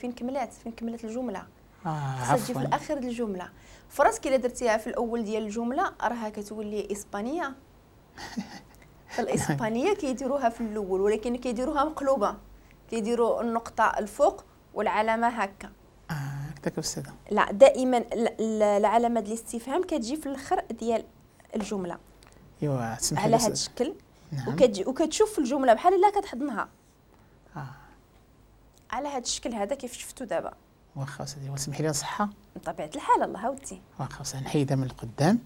فين كملات، فين كملت الجملة. خصها تجي في الاخر ديال الجملة. فراسك الا درتيها في الاول ديال الجملة راها كتولي اسبانية. فالاسبانيه كيديروها في الاول، ولكن كيديروها مقلوبة، كيديروا النقطة الفوق والعلامة هكا. هكذاك استاذه. لا، دائما العلامة ديال الاستفهام كتجي في الاخر ديال الجملة. ايوا تسمحي على هذا الشكل. نعم. وكتشوف الجملة بحال الا كتحضنها. على هذا الشكل هذا كيف شفتو دابا. واخا سيدي، وسمحي لي نصحها. بطبيعة الحال الله ودي. واخا نحيدها من القدام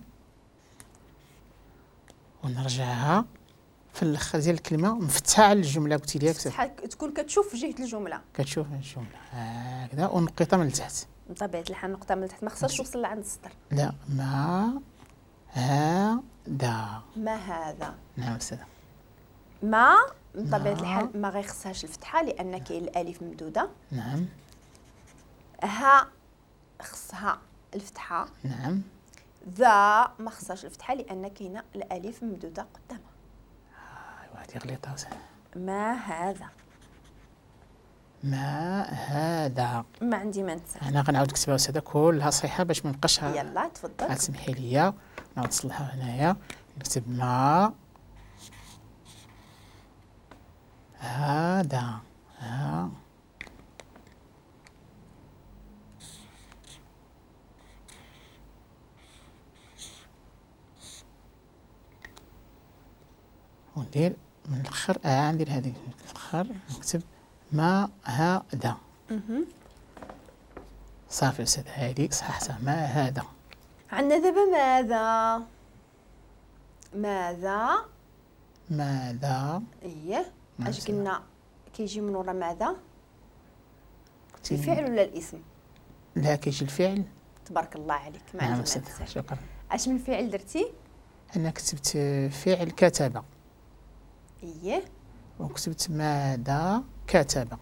ونرجعها في الاخر ديال الكلمة مفتحة على الجملة. قلتي لي تكون كتشوف جهة الجملة، كتشوف الجملة هكذا، ونقيطه من التحت. بطبيعة الحال نقطة من التحت، ما خصهاش توصل لعند السطر. لا، ما هذا، ما هذا. نعم استاذه. ما بطبيعة الحال ما غيخصهاش الفتحة لان كاين الالف ممدوده. نعم. ها خصها الفتحة. نعم. ذا ما خصهاش الفتحة لان كاينه الالف ممدوده قدامها. ايوا هذه غليطه. ما هذا، ما هذا، ما عندي ما ننسى. انا غنعاود نكتبها استاذه كلها صحيحه باش ما نبقاش. يلا تفضل. تسمحي لي نعاود نصلحها هنايا. نكتب ما هذا، ها وندير من الاخر، ندير هذيك من الاخر، نكتب ما هذا. صافي استاذ، هذه صححتها. ما هذا. عندنا دابا ماذا، ماذا، ماذا. اييه، اش قلنا كيجي من ورا ماذا؟ الفعل ولا الاسم؟ لا، كيجي الفعل. تبارك الله عليك، ما عندي ما ننسى. شكرا. اش من فعل درتي؟ انا كتبت فعل كتب. اييه. وكتبت ماذا كتب.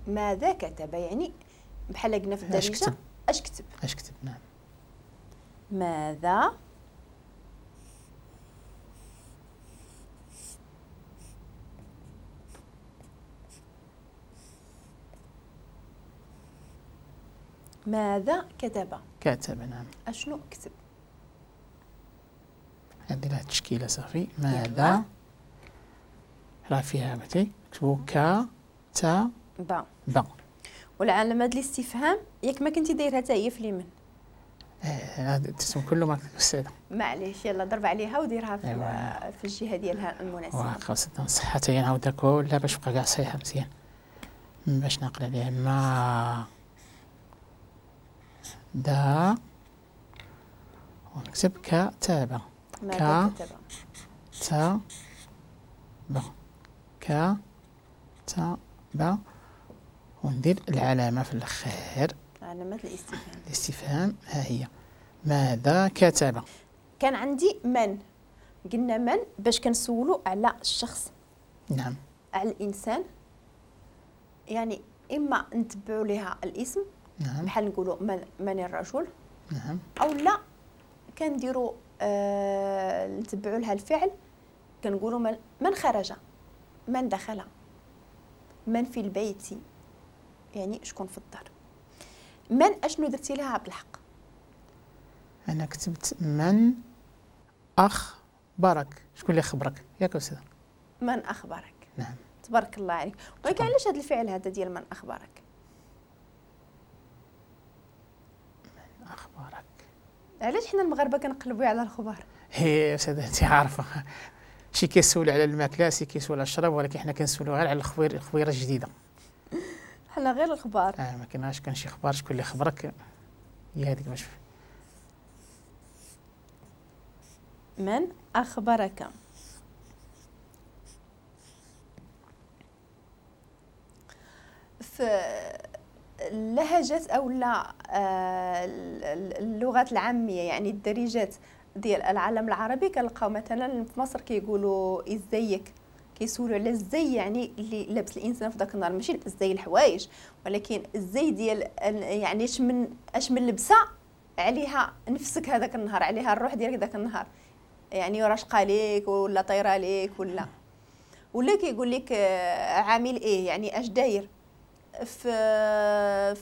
ماذا كتب، يعني بحال قلنا في الدارجة اش كتب، اش كتب. نعم. ماذا ماذا كتب. كتب. نعم. اشنو كتب؟ هذه لها التشكيلة صافي. ماذا راه فيها بتي نكتبو ك ت ب ب. والعلامة ديال الاستفهام ياك ما كنتي دايرها حتى هي في اليمين. التسم كله ما استاذه. معليش، يلا ضرب عليها وديرها في, أيوة. في الجهة ديالها المناسبة. واخا نصحها حتى هي، نعاودها كلها باش تبقى كاع صحيحه مزيان باش نعقل عليها. ما دا ونكتب كتابة. ماذا كتب؟ ت ب ك ت ب، وندير العلامة في الأخير، علامة الاستفهام. الاستفهام ها هي. ماذا كتب؟ كان عندي من، قلنا من باش كنسولو على الشخص. نعم. على الإنسان، يعني إما نتبعوا لها الاسم. نعم. بحال نقولوا من الرجل. نعم. أو لا كنديروا نتبعوا لها الفعل، كنقولوا من خرج، من دخل، من في البيت، يعني شكون في الدار. من اشنو درتي لها عبد الحق؟ انا كتبت من اخبرك. شكون اللي خبرك ياك استاذ؟ من اخبرك. نعم. تبارك الله عليك. ولكن علاش هذا الفعل هذا ديال من اخبرك؟ من اخبرك، علاش حنا المغاربة كنقلبوا على الخبر؟ هي استاذ انت عارفه، شي كيسول على الماكلة، شي كيسول على الشراب، ولكن حنا كنسولوا غير على الخبيرة الجديدة. حنا غير الخبار. ما كايناش كان شي خبار، شكون اللي خبرك هي هذيك باش. من اخبرك. في اللهجات او لا اللغات العامية، يعني الدارجات ديال العالم العربي، كنلقاو مثلا في مصر كيقولوا ازيك، كيسولوا على الزي، يعني اللي لابس الانسان في ذاك النهار، ماشي الزي الحوايج، ولكن الزي ديال يعني اش من لبسه عليها نفسك هذاك النهار، عليها الروح ديالك ذاك النهار، يعني راشقه ليك ولا طايره ليك ولا كيقول لك عامل ايه، يعني اش داير. في